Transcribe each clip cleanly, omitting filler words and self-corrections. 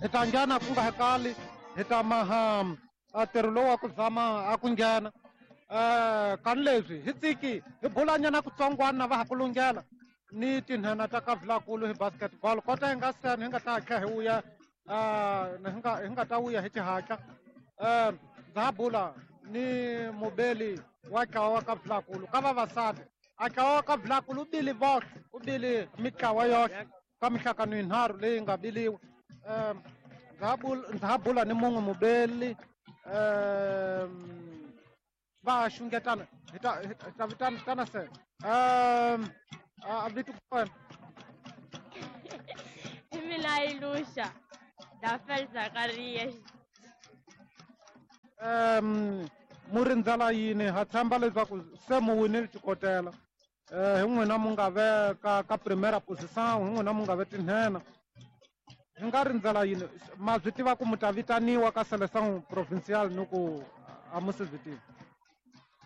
Hi ta nghena ku nga hekali, hi ta maha a ntirho lowu wa ku zama a ku nghena. Kani leswi hi tsiki hi bulanyana kutsongwana va ha ku lunghela ni tinhena ta ka Vilakulu hi basketball. Kota hi nga seni hi nga ta tlhela hi vuya, hi nga ta vuya hi xihatla. Ndza ha bula ni mubeli wa ntlawa wa ka Vilakulu ka vavasati. A ntlawa wa ka Vilakulu u bile voxe, u bile mitlawa yoxe ka mihlakano yinharhu leyi nga biliwa. Ndza ha bula ni mun'we mubeli, va xungetana hi ta, hi ta vitana tana se. A vito kona. I mina Ilusha Dafel Zakaria. Mu rindzela yini? Ha tshemba leswaku se mu winile xikotela. Hi n'wina mu nga ve ka primera position, hi n'wina mu nga ve tinhena. Hi nga rindzela yini? Ma swi tiva ku mu ta vitaniwa ka Seleção Provincial ni ku a mu se swi tivi?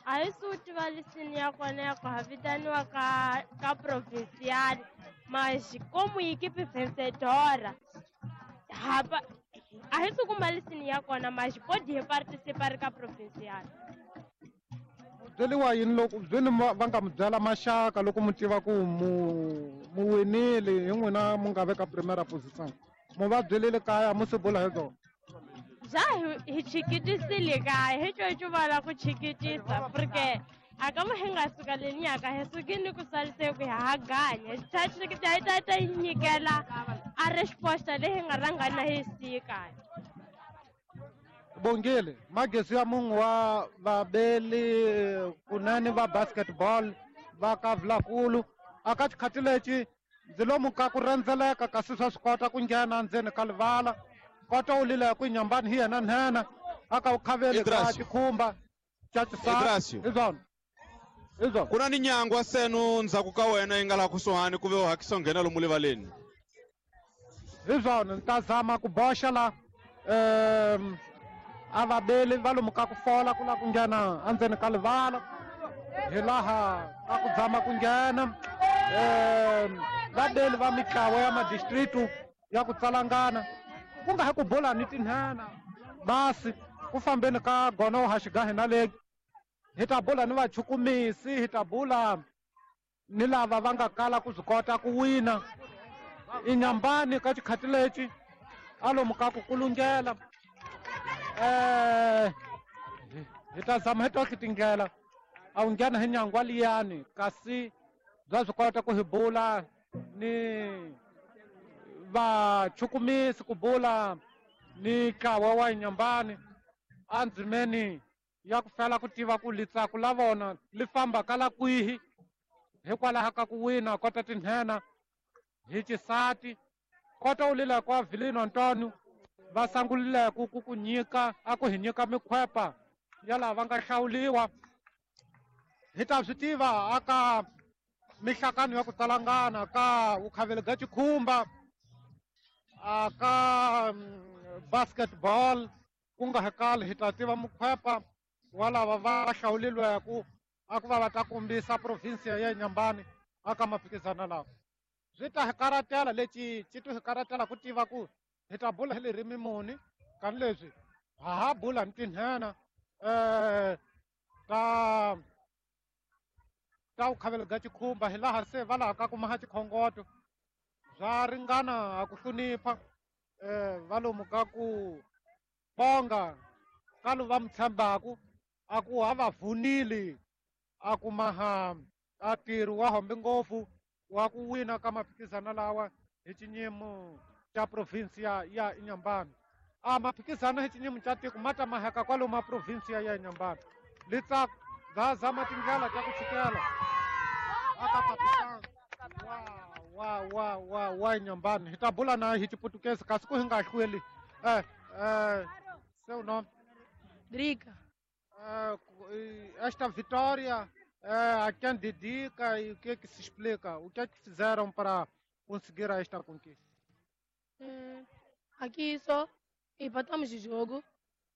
A hi swi tiva lisini ya kona ya ku ha vitaniwa ka provincial, mas como equipe vencedora, hapa a hi swi kuma lisini ya kona, mas pode hi participar ka provincial. Byeriwa yini loko byeni va nga mi byela maxaka loko mi tiva ku mu winile, hi n'wina mu nga veka primera position? Mu va byelile kaya, mu se bula hi byona? Bya hi chikitisile kaya, hi coco va la ku chikitisa, porque a ka hi nga suka le nyaka, hi sukile ku salise ku ha ganya. Hi ta chikita, hi ta ta nyikela a resposta leyi hi nga rhanga na hi siyi kaya. Bongile, magezi ya mun'we wa vabeli kunene va basketball va ka Vilakulu. A ka xikhathi lexi ndzi lomu ka ku rhendzeleka, kasi swa swi kota ku nghena ndzeni ka livala. Kota u lila ku nyambani hi yena nhenha a ka u khaveli ka Idrasio. xikhumba xa xisati. Idrasio. Hi swona. Hi swona. Ku na ni nyangwa senu ndzhaku ka wena yi nga laha kusuhani ku ve u hakisa u nghena lomu livaleni. Hi swona, ni ta zama ku boxa la. A vabeli va lomu ka ku fola ku lava ku nghena endzeni ka livala, hi laha ka ku zama ku nghena. Vabeli va mitlawa ya madistritu ya ku tsalangana, ku nga ha ku bula ni tinhena basi ku fambeni ka gono wa xigahi na leki. Hi ta bula ni vachukumisi, hi ta bula ni lava va nga kala ku swi kota ku wina. I nyambani ka xikhathi lexi a lomu ka ku kulungela. Hi ta zama hi tohle tindlela a wu nghena hi nyangwa liyani, kasi bya swi kota ku hi bula ni vachukumisi, ku bula ni ntlawa wa nyambani andzimeni ya ku fela ku tiva ku litsaku la vona li famba ka la kwihi hikwalaho ka ku wina kota tinhena hi xisati. Kota u lila kwa Vilino Antonio va sangulile ku ku nyika a ku hi nyika mikhwepa ya lava va nga hlawuliwa. Hi ta swi tiva aka mihlakano ya ku tsalangana ka vukhaveli bya xikhumba, aka basketball, ku nga hakali hi ta tiva mukhwepa wa lava va hlawulilweku a ku va va ta kombisa province ya Inhambane aka maphikizano lawa. Swi ta hi karatela lexi xi to hi karatela ku tiva ku hi ta bula hi ririmi muni, kani leswi ha ha bula ni tinhena ta vukhavelo bya xikhumba, hi laha se va laha ka ku maha xikhongoto bya ringana a ku hlonipha va lomu ka ku bonga ka lo va mi tshembaku a ku ha va vunile a ku maha a ntirho wa hombe ngopfu wa ku wina ka maphikizano lawa hi xinyimo xa province ya Inhambane. A maphikizano hi xinyimo xa tiko ma ta maheka kwalomu a province ya Inhambane. Litsa bya zama tindlela ta ku tshikela aka kapitani wa Inhambane. Hi ta bula na hi Xiputukezi kasi ku hi nga hlweli. Seu nome? Drica. Esta vitória, a quem dedica e o que é que se explica? O que é que fizeram para conseguir esta conquista? Aqui só empatamos o jogo,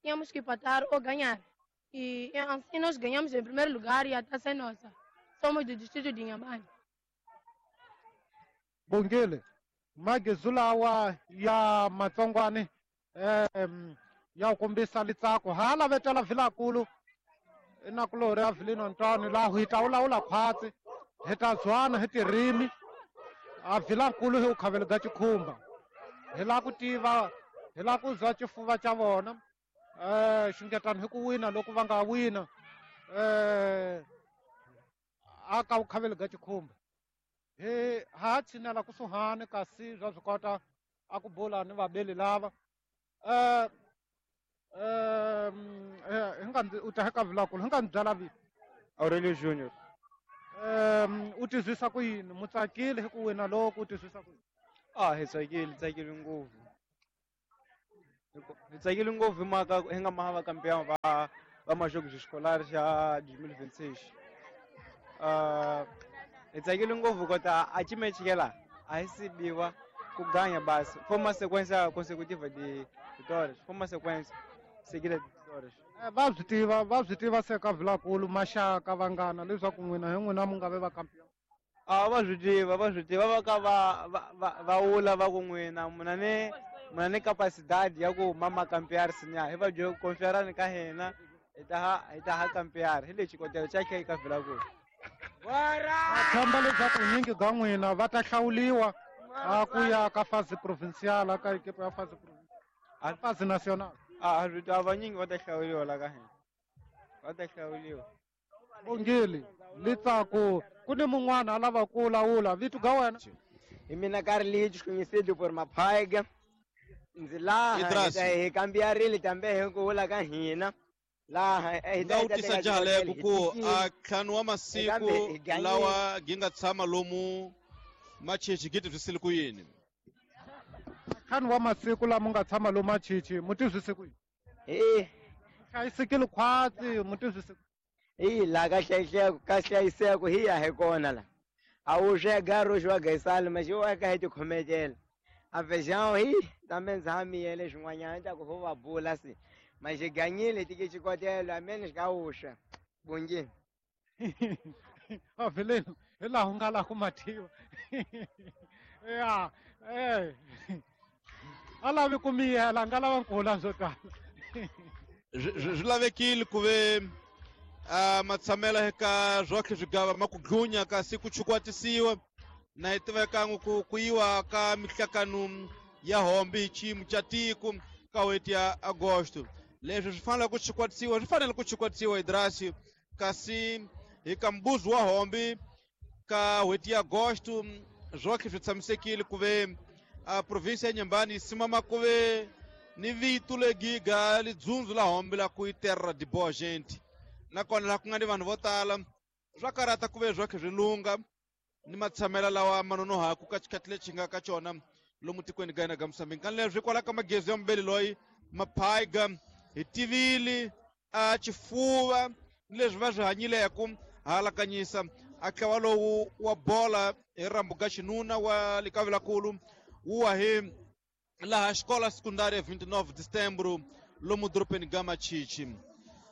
tínhamos que empatar ou ganhar. E assim nós ganhamos em primeiro lugar e a taça é nossa. Somos do distrito de Inhambane. Bongile, Magezu lawa ya matsongwani ya kombisa litsako hala vetela Vilakulu inakulori ya Vilino Antoni laha hi ta vulavula khwatsi hi ta zwana hi tirimi a Vilakulu hi ukhavelo ga chikhumba hi la ku tiva hi la ku zwa xifuva xa vona xungetani hi ku wina loko va nga wina aka ukhavelo ga chikhumba hi ha tshinela kusuhani kasi bya swi kota a ku bula ni vabeli lava hi nga u ta ka Vilakulu hi nga ni byala vito Aurelio Junior. U tizwisa ku yini mutsakile hi ku wina loko u tizwisa ku yini? Hi tsakile ngopfu. Hi tsakile ngopfu hi mhaka hi nga maha vakampeon va Majogos Escolares xa 2026. Hi tsakile ngopfu kota a chimechikela a hi sibiwa ku ganya basi. Foi uma sequência consecutiva de vitórias. Foi uma sequência seguida de vitórias. Va swi tiva se ka Vilakulu maxaka vanghana leswaku n'wina hi n'wina mu nga ve vakampeon. Va swi tiva va ka va wula va ku n'wina muna ni capacidade ya ku mama kampear sinya hi va byo confiarani ka hina hi ta ha kampear hi lexi xikotelo xa khe ka Vilakulu. Va tshemba leswaku nyingi ga n'wina va ta hlawuliwa a ku ya ka fase provincial ka equipe ya fase provincial fase national. A vanyingi va ta hlawuliwa la ka hina va ta hlawuliwa. Bongile litsako ku ni mun'wana a lava ku lawula vito ga wena. Hi mina Carlitos conhecido por Mapaiga. Ndzi laha hi kambiarile tambe hi ku vula ka hina laha hi nga u tisa jaleko ku a ntlhanu wa masiku lawa gi nga tshama lomu Machichi gi tizwisile ku yini? Ntlhanu wa masiku lama nga tshama lomu Machichi mu tizwise ku yini? Hlayisekile khwatsi mu tizwise ku hi laha ka hlayiseko hi ya hi kona la a wu swega roxi wa gaisali ma xi wa ka hi tikhometela a feijão hi tambe ndzi ha miyele swin'wanyana ta ku ho va bula se ma xi ganyile tike xikotelo amene xi ka wuswa bongeni. A Vileno hi laha u nga laha ku mathiwa ya a lavi ku miyela a nga lava nkula swo tala. Swi lavekile ku ve matshamela eka swotlhe swigava ma ku dlunya kasi ku chukwatisiwa na hi tivekangu ku yiwa ka mihlakano ya hombi hi xiyimo xa tiko ka n'hweti ya Agosto. Leswi swi fanele ku chukwatisiwa swi fanele ku chukwatisiwa Idrasi kasi hi ka mbuzi wa hombi ka n'hweti ya Agosto swotlhe swi tshamisekile ku ve a provinsia ya Nyambani yi simama ku ve ni vito legiga lidzundzu la hombi la ku yi terra de boa gente nakona laha ku nga ni vanhu vo tala swa karata ku ve swotlhe swi lunga ni matshamela lawa ma nonohaku ka xikhathi lexi nga ka xona lomu tikweni ga hina ga Mozambique. Kani leswi kwala ka magezi ya mubeli loyi Maphaiga hi tivile a xifuva ni leswi va swi hanyileku halakanyisa a ntlawa lowu wa bola hi rambu ga xinuna wa le ka Vilakulu wu wa hi laha xikola sekundari ya 29 de setembro lomu dorobeni ga Machichi.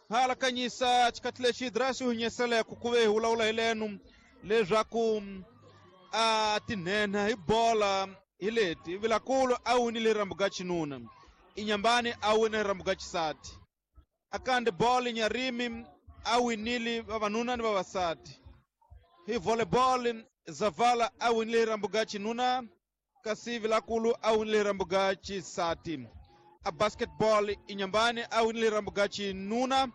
Halakanyisa xikhathi lexi Idrasi u hinyeseleko ku ve hi vulavula hi lenu leswaku a tinhenha hi bola hi leti Vilakulu a winile rambu ga xinuna Inyambani a wine rambu ga xisati akande bolo Nyarimi a winile vavanuna ni vavasati hi volleyball Zavala a winile rambu ga xinuna kasi Vilakulu a winile rambu ga xisati a basketball Inyambani a winile rambu ga xinuna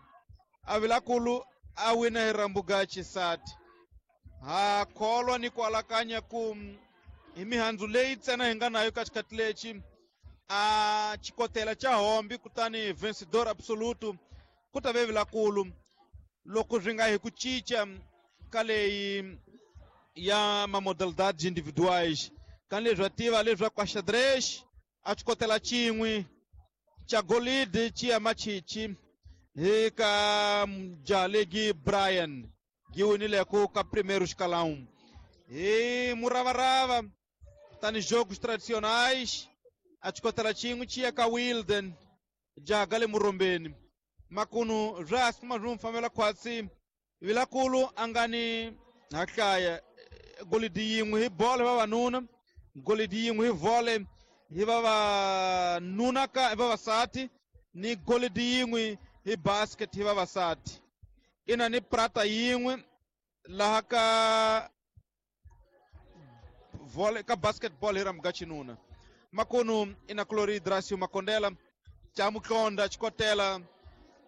a Vilakulu a wina rambu ga xisati. Ha kholwa ni ku alakanya ku hi mihandzu leyi ntsena hi nga nayo ka xikhathi lexi a xikotela xa hombi kutani vencedor absoluto ku ta ve Vilakulu loko swi nga hi ku cinca ka leyi ya mamodalidades individuais kani leswi va tiva leswaku a xadrez a xikotela xin'we xa golide xi ya Machichi hi ka Jalegi Brian gi winileko ka primeiro escalão hi muravarava tani jogos tradicionais a xikotela xin'we xi ya ka Wilden jaha le Murombeni makunu swa swi kuma swi n'wi fambela khwatsi Vilakulu a nga ni hahlaya golidi yin'we hi bolo vavanuna Golidi yin'we hi volley hi vavanuna ka hi vavasati ni golidi yin'we hi basket hi vavasati. Ina ni prata yin'we laha ka volley ka basketball hi rhamu ka xinuna. Makunu ina Clori Dracio Makondela xa Mutlonda xikotela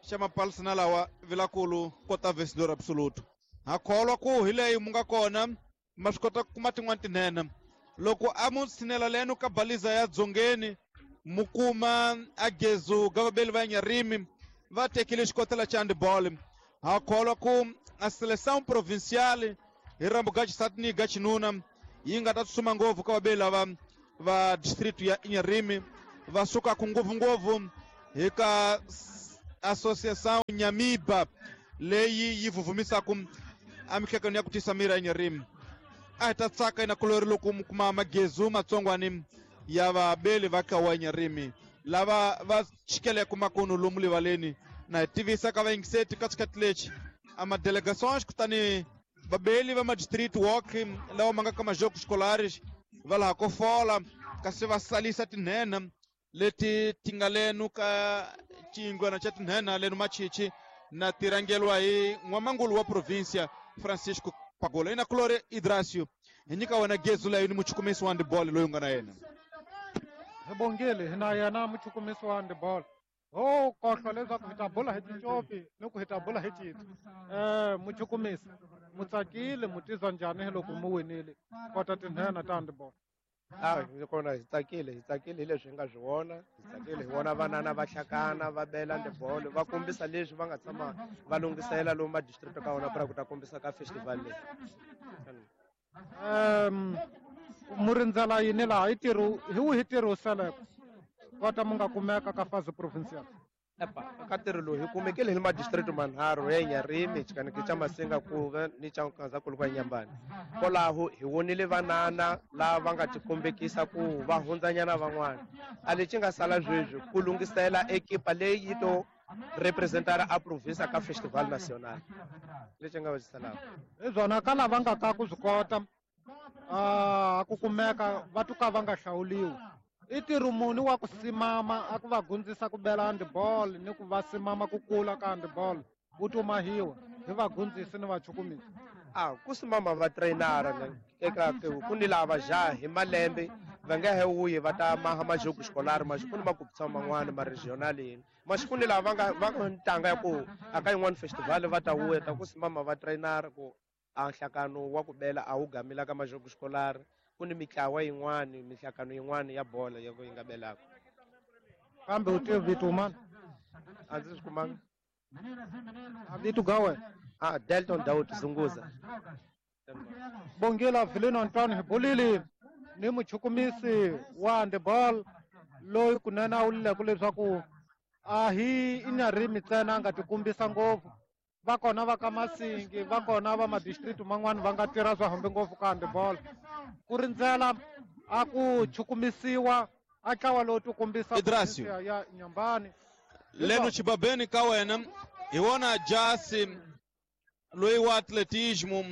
xa mapalsana lawa vilakulu kota vencedor absoluto. Ha kholwa ku hi leyi mu nga kona ma swi kota ku kuma tin'wani tinene. Loko a mu tshinela leno ka baliza ya dzongeni mu kuma a gezu ga vabeli va Nyarimi va tekile xikotela xa handball. Ha kholwa ku a seleção provincial hi rambu ga xisati ni ga xinuna yi nga ta tsutsuma ngopfu ka vabeli lava va district ya Inharime va sukaka ngopfungopfu hi ka associação Nyamiba leyi yi vuvumisaka emihlekweni ya ku tisa miri ya Inharime. A hi ta tsaka ina kulori loko mu kuma magezu matsongwani ya vabeli va ka wa Inharime lava va chikeleke makunu lomu livaleni. Na hi tivisa ka vayingiseti ka xikhathi lexi a madelegações kutani vabeli va madistrict walk lawa ma nga ka majoko scolares va laha ko fola kasi va salisa tinhenha leti ti nga lenu ka xiyingwana xa tinhenha lenu machichi na ti rhangeriwa hi n'wamangulu wa provincia Francisco Pagola. Ina Clore Idracio hi nyika wena gezu leyi ni muchukumisi wa handball loyi u nga na yena. Hi bongile hi na yena muchukumisi wa handball. Ho kohlwa leswaku hi ta bula hi ticopi ni ku hi ta bula hi citsi. Muchukumisi mu tsakile mu tizwa njhani hi loko mu winile kota tinhenha ta handball? Hi kona hi tsakile, hi tsakile hi leswi hi nga swi vona, hi tsakile hi vona vanana va hlakana va bela handball va kombisa leswi va nga tshama va lunghisela lomu ma-district ka wona pra ku ta kombisa ka festival leyi. Mu rindzela yini laha hi ntirho hi wihi ntirho wu seleke kota mu nga kumeka ka fase provincial? Epa, ka ntirho lowu hi kumekile hi madistrict manharhu ya Inharime, xikaneke xa Masinga Kuve ni xa Nkazankulu kwa Inhambane. Kwalaho hi vonile vanana lava va nga tikombekisa ku va hundzanyana van'wana. A lexi nga sala sweswi ku lunghisela ekipa leyi yi to representara a province ka festival national. Lexi nga va xi salaka. Hi byona ka lava nga ka ku swi kota ku kumeka va tuka va nga hlawuliwi. I ntirho muni wa ku simama a ku va gundzisa ku bela handball ni ku va simama ku kula ka handball wu tumahiwa hi vagundzisi ni vachukumisi? Ku simama va trainara na eka ku ni lava jaha hi malembe va nga he wuyi va ta maha majogo xikolari maxi ku ni makupisa man'wana ma regional yini maxi ku ni lava va nga ntanga ya ku a ka yin'wana festival va ta wuya ta ku simama va trainara ku a nhlakano wa ku bela a wu gamila ka majogo xikolari. Ku ni mitlawa yin'wani mihlakano yin'wani ya bola ya ku yi nga belaka. Kambe u tiva vito mani? A ndzi swi kumanga. A vito ga wena? Delton Daud Zunguza. Bongela Vilino Antoine hi bulile ni muchukumisi wa handball loyi kunene a wulileke leswaku a hi Inharime ntsena a nga tikombisa ngopfu. Va kona va ka Masingi, va kona va madistrict man'wani va nga tirha swa hambi ngopfu ka handball. Ku rindzela a ku chukumisiwa a ntlawa lowu ti kombisa Idrasio. ya Inhambane. Leno xibabeni ka wena hi wona jasi loyi wa atletismo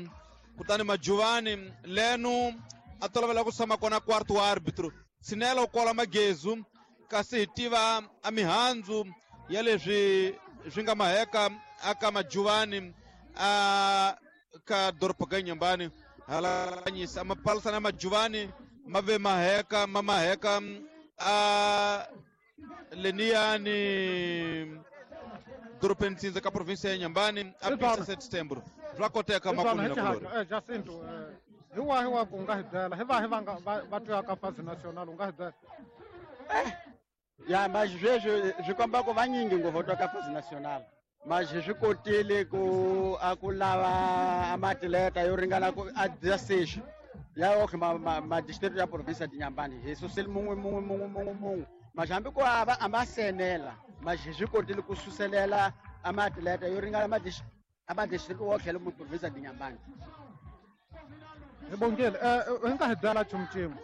kutani Majuvani leno a tolovela ku tshama kona quarto wa arbitro. Tshinela u kola magezu kasi hi tiva a mihandzu ya leswi swi nga maheka aka Majuvani a ka doroba ga Inhambane. Halanyisa mapalisana ya Majuvani ma ve maheka ma maheka a leniyani dorobeni Ntsindza ka province ya Inhambane a Hi 7 Setembro. Swa koteka makumu na kulori. Jacinto, hi wahi wa ku nga hi byela hi vahi va nga va twa ka fase national u nga hi byela? Ya mas sweswi swi komba ku vanyingi ngopfu twa ka fase national. Mas swi kotile ku a ku lava amatleta yo ringana ku a dya ya otlhe ma district ya province ya Inhambane hi susile mun'we mun'we mun'we mun'we mun'we. Mas hambi ku a va a ma senela mas swi kotile ku suselela amatleta yo ringana ma district wo tlhela mu province ya Inhambane. Hi bongile hi nga hi byela nchumu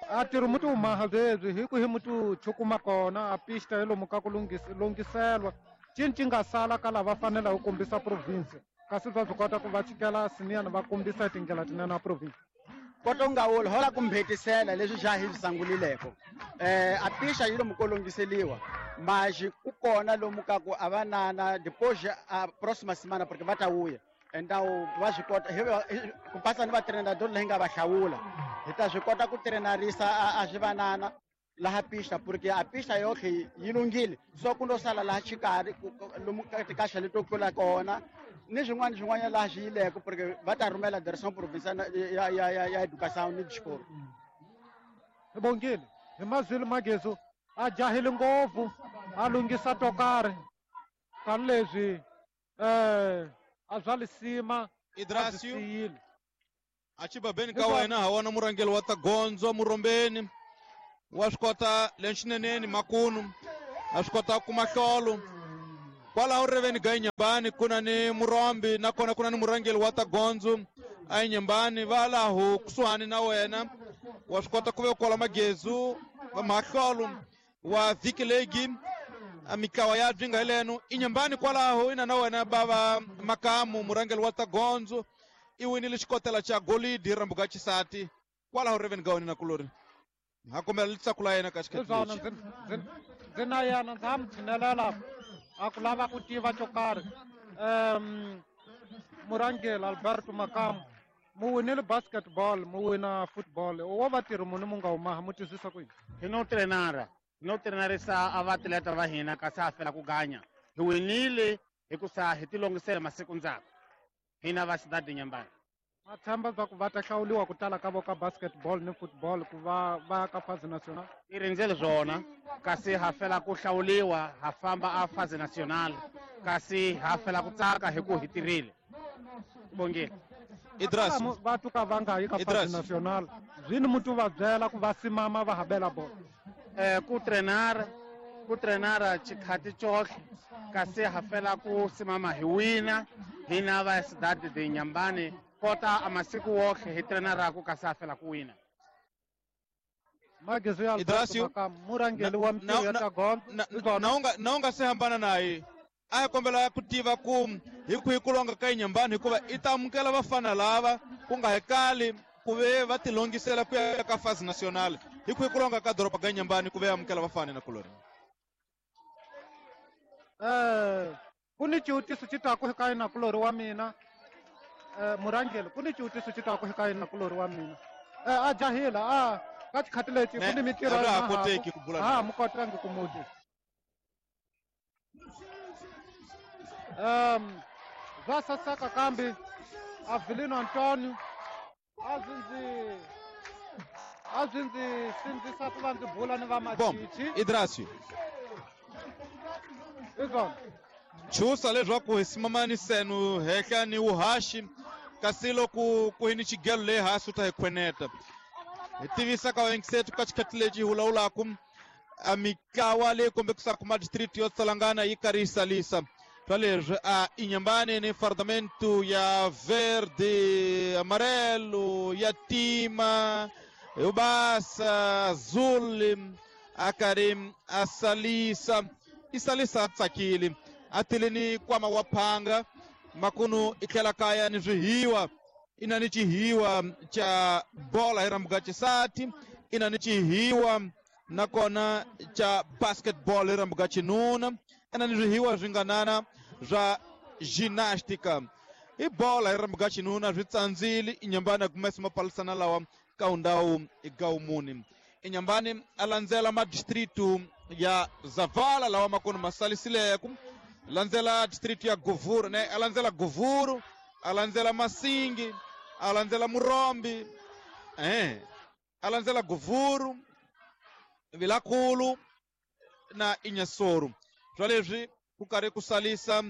a ntirho mu ti wu maha byebyi hi ku hi mu ti chukuma kona a pista hi lomu ka ku lunghiselwa cini ci nga sala ka lava faneleke ku kombisa province kasi swa swi kota ku va chikela siniyani va kombisa hi tindlela tinene a province. Kota u nga wuli hola ku mbhetisela leswi xa hi swi sangulileko. A pixa yi lomu ko longiseliwa. Mas ku kona lomu ka ku a va nana depois a próxima semana porque va ta vuya. Então va swi kota ku pasa ni vatreinador leyi nga va hlawula. Hi ta swi kota ku treinarisa a swi vanana laha pista porque a pista yohle yi lunghile. So ku ndo sala laha xikarhi lomu ka tikaxa leto tlula kona ni swin'wana swin'wanyana laha swi yileko porque va ta rhumela direction provincial ya education ni xikolo. Hi bongile hi mazwile Magezu a jahile ngopfu a lunghisa to karhi tani leswi a bya lisima Idrasio. a byi siyile. A chibabeni ka wena ha wona murhangeri wa ta gondzo murombeni wa swi kota lenxineneni makunu a swi kota ku kuma hlolo kwalaho riveni ga Inyambani ku na ni murombi nakona ku na ni murhangeri wa ta gondzo a Inyambani va laho kusuhani na wena wa swi kota ku ve kwala Magezu va mahlolo wa vhiki legi a mitlawa ya byi nga hi leno Inyambani kwalaho ina na wena bava Makamu murhangeri wa ta gondzo i winile xikotela xa golidi rambuka xisati kwalaho riveni ga wena na kulori ha kombela litsako la yena ka xikhathi Hiswona lexi. ndzi na yena ndza ha mi tshinelela a ku lava ku tiva xo karhi. Murhangeri Alberto Makamu mu winile basketball mu wina football wo vatirhi muni mu nga humaha mu twisisa ku yini? Hi no trenara hi no trenarisa a vaatleta va hina kasi ha fela ku ganya. Hi winile hikusa hi tilongisela masiku ndzhaku hina va Cidade Inhambane. Ma tshemba swa ku va ta hlawuriwa ku tala ka vo ka basketball ni football ku va va ka phase national? I rindzele swona kasi ha fela ku hlawuriwa ha famba a phase national kasi ha fela ku tsaka hi ku hi tirhile. Bongile. Idras. Va tuka va nga yi ka phase Idras. national zwini mutu va byela ku va simama va habela bolo. Ku trenara ku trenara xikhathi xohle kasi ha fela ku simama hi wina hina va Cidade de Inhambane kota a masiku wohle hi trenaraku kasi ha fela ku wina. Magezu ya Alberto Idrasio. Makamu murhangeri wa mintirho ya ta gondzo. Na u nga se hambana naye a hi kombela ku tiva ku hi kwihi ku longa ka Inyambani hikuva i ta amukela vafana lava ku nga hekali ku ve va tilongisela ku ya ka phase national hi kwihi ku longa ka doroba ga Inyambani ku ve amukela vafana na kulori. Ku ni xivutiso xi taku ka yena kulori wa mina. Murhangeri ku ni xivutiso xi taku ka yena kulori wa mina. A jahila a ka xikhathi lexi ku ni mintirho A swa ha ya koteki ku bula Ha na mu kotangi ku muti. Zwa saseka kambe Avelino Antonio a swi ndzi sindzisa ku va ndzi bula ni va Bom, Machichi. Idrasio. Izona. Chusa leswaku hi simamani senu hehla ni wuhaxi kasi loko ku hi ni xigelo leyi hansi u ta hi khweneta. Hi tivisa ka vayengisetu ka xikhathi lexi hi vulavulaku a mitlawa leyi kombekisaka madistrict yo tsalangana yi karhi yi salisa. Swa leswi a Inyambani ni fardamento ya verde, amarelo, ya tima, yo basa, azul, a karhi a salisa. I salisa a tsakile. A tile ni nkwama wa phanga makunu i tlhela kaya ni swihiwa. I na ni xihiwa xa bola hi rambuka xisati, i na ni xihiwa nakona xa basketball hi rambuka xinuna, i na ni swihiwa swi nganana swa gymnastica. I bola hi rambuka xinuna swi tsandzile Inyambani a kumesa mapalisana lawa ka undhawu gawumuni. Inyambani a landzela madistritu ya Zavala lawa makunu ma salisileku, landzela district ya Govuru, ne a landzela Govuru, a landzela Masingi, a landzela Murombi, a landzela Govuru, Vilakulu na Inhassoro. Swa leswi ku karhi ku salisa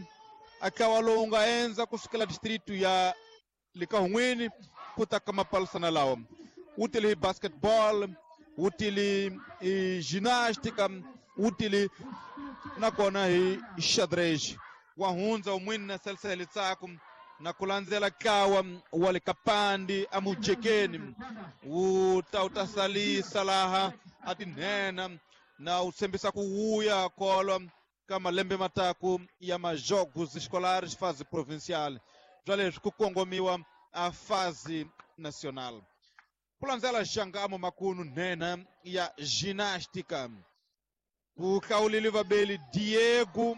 a ntlawa lowu nga endza kusukela district ya Likahun'wini ku ta ka mapalisana lawa. Wu tile hi basketball, wu tile hi gymnastica, wu tile nakona hi xadrez. Wa hundza wun'wini na salisa litsako na ku landzela ntlawa wa le Kapandi amujekeni wu ta wu ta salisa laha a tinhena na wu tshembisa ku wuya kolwa ka malembe mataku ya majogos escolares fase provincial. Bya leswi ku kongomiwa a fase nacional. Ku landzela Xangamo makunu nhenha ya ginástica. Ku hlawulile vabeli Diego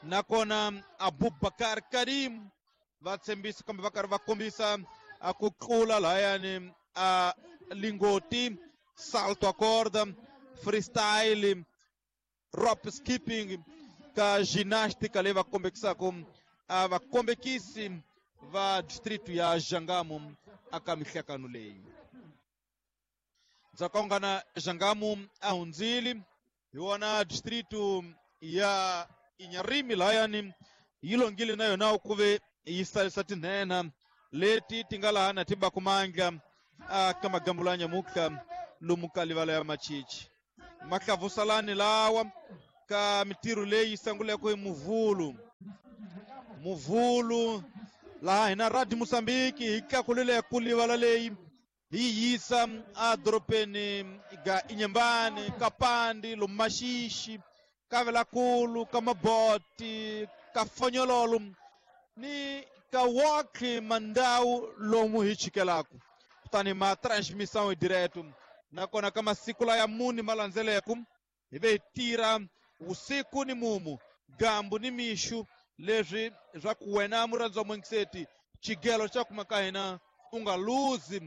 nakona Abubakar Karim va tshembisa kambe va karhi va kombisa a ku tlula lahayani a lingoti, salto a corda, freestyle, rope skipping ka ginástica leyi va kombekisaka a vakombekisi va distrito ya Xangamo aka mihlakano leyi. Ndzakaungana Xangamo a hundzile hi wona distrito ya Inharime lahayani yi longile na yona ku ve yi salisa tinhenha leti ti nga laha na ti baku mandla aka magambulo ya nyamutlha lomu ka livala ya Machichi. Mahlavusalani lawa ka mitirho leyi sanguleke hi Muvhulu. Muvhulu laha hina Radio Mozambique hi tlakulile ku livala leyi hi yisa edorobeni ga Inhambane, Kapandi, lomu Maxixi, ka Velakulu, ka Maboti, ka Fonyololo ni ka wokhe mandhawu lomu hi chikelaku. Kutani ma transmissão hi direto nakona ka masiku laya muni ma landzeleku hi ve hi tirha vusiku ni mumu, gambu ni mixu, leswi swa ku wena murhandzi wa muingiseti xigelo xa kuma ka hina u nga luzi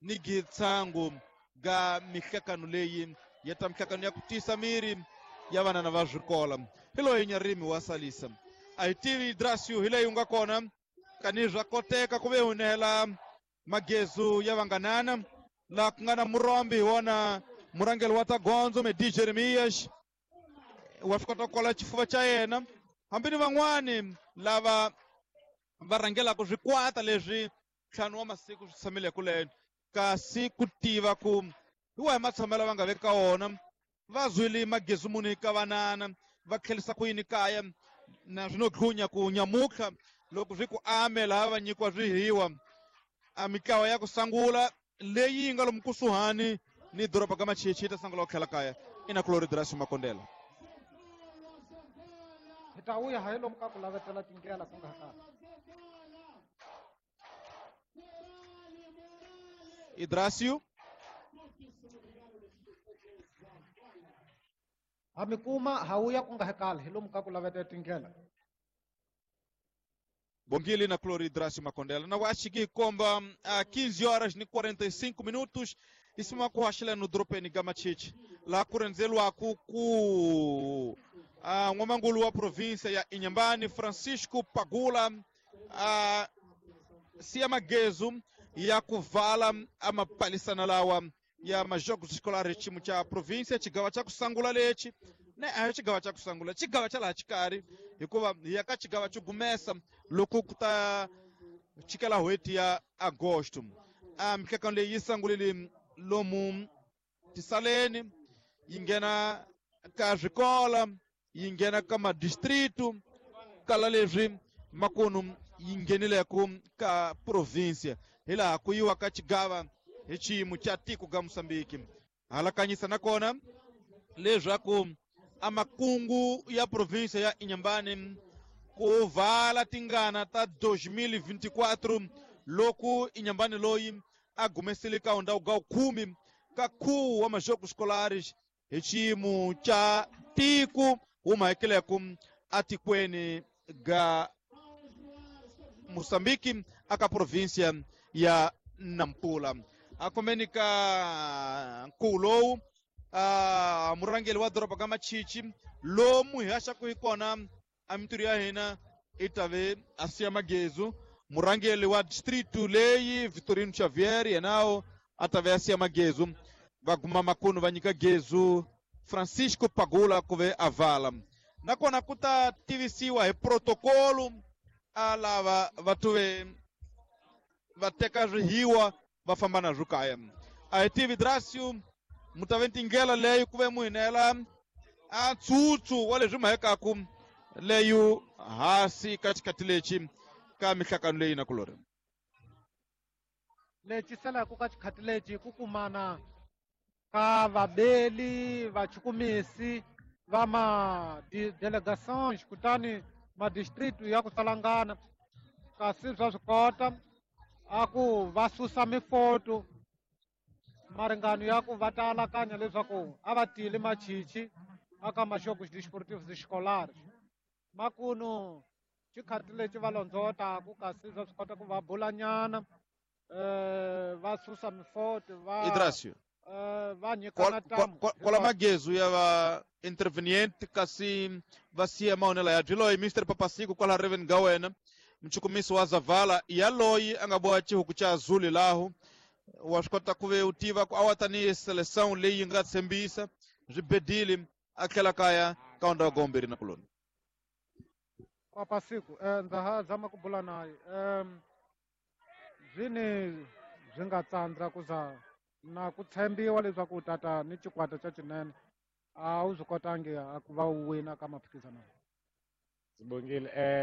ni gitsangu ga mihlekano leyi ya ta mihlekano ya ku tiyisa miri ya vanana va swikola. Hi loyi Inharime wa salisa. A hi tivi Drasio hi leyi u nga kona kani swa koteka ku ve hunela magezu ya vanganana laha ku nga na murombi hi wona murhangeri wa ta gondzo Medi Jeremias wa swi kota ku kola xifuva xa yena hambi ni van'wani lava va rhangelaka swikwata leswi ntlhanu wa masiku swi tshamile kuleyo kasi ku tiva ku hi wahi matshamelo va nga veka wona va zwile magezu muni ka vanana va tlhelisa ku yini kaya na swi no dlunya ku nyamutlha loko swi ku ame laha va nyikiwa swihiwa a mitlawa ya ku sangula leyi yi nga lomu kusuhani ni doroba ka Machichi yi ta sangula ku tlhela kaya. Ina Kulori Drasio Makondela. Hi ta vuya hi lomu ka ku lavetela tindlela ku nga ha kahle. Idrasio ha mi kuma ha vuya ku nga ha kahle hi lomu ka ku lavetela tindlela. Bongile na Clori Drasio Makondela. Na acho que komba a 15 horas e 45 minutos isima ku haxela no dropeni ga Machichi la kurenzelwa ku ku n'wamangulu wa província ya Inhambane Francisco Pagula siya magezu ya kuvala amapalisana lawa ya majogos escolares ximo cha província xigawa xa kusangula lexi ne a hi xigawa xa kusangula xigawa xa laha xikarhi hikuva hi ya ka xigawa xo gumesa loko ku ta chikela n'hweti ya agosto. A mihlekano leyi yi sangulile lomu tisaleni yi nghena ka swikola yi nghena ka madistritu kala leswi makunu yi nghenileko ka província hi laha ku yiwa ka xigava hi xiyimo xa tiko ga Mozambique. Halakanyisa nakona leswaku amakungu ya província ya Inhambane ku vala tingana ta 2024 loko Inhambane loyi a gumesile ka ndhawu ga 10 ka khuwu wa majogos escolares hi xiyimo xa tiko wu mahekeleku atikweni ga Mozambique aka província ya Nampula. Akomeni ka nkuwu lowu murhangeri wa doroba ka Machichi lomu hi haxaku hi kona a mintirho ya hina i ta ve a siya magezu. Murhangeri wa distrito leyi Vitorino Xavier yenawo a ta ve a siya magezu. Va guma makunu va nyika gezu Francisco Pagula ku ve a vala. Nakona ku ta tivisiwa hi protocolo a lava va tuve va teka swihiwa va famba na swo kaya. A hi tivi Drasio mu ta ve tindlela leyi ku ve mu hinela a ntsutsu wa leswi mahekaku leyo hasi ka xikhathi lexi ka mihlakano leyi na kulori. Lexi salaku ka xikhathi lexi ku kumana ka vabeli vachukumisi va ma delegations kutani madistritu ya ku salangana kasi swa swi kota a ku va susa mifoto Maringano ya ku va ta alakanya leswaku a va tile machichi aka Jogos Desportivos Escolares. Makunu xikhati lexi va londzotaku kasi va swi kota ku va bulanyana va susa mifoto va Idrasio. Va nyikana tamu. Kwala magezu ya va interveniente kasi va siya mahonela ya byiloyi Mr Papasiku kwala Reven ga wena mchukumisi wa Zavala yaloyi a nga boha xihuku xa Azuli lahu wa swi kota ku ve u tiva ku a wa tanihi seleção leyi yi nga tshembisa swi bedile a tlhela kaya ka onda wa gomberi na kuloni. Papasiku ndza ha zama ku bula naye zwini swi nga tsandza ku za na ku tshembiwa leswaku u tata ni xikwata xa xinene a wu swi kotangi a ku va u wina ka maphikizano. Sibongile.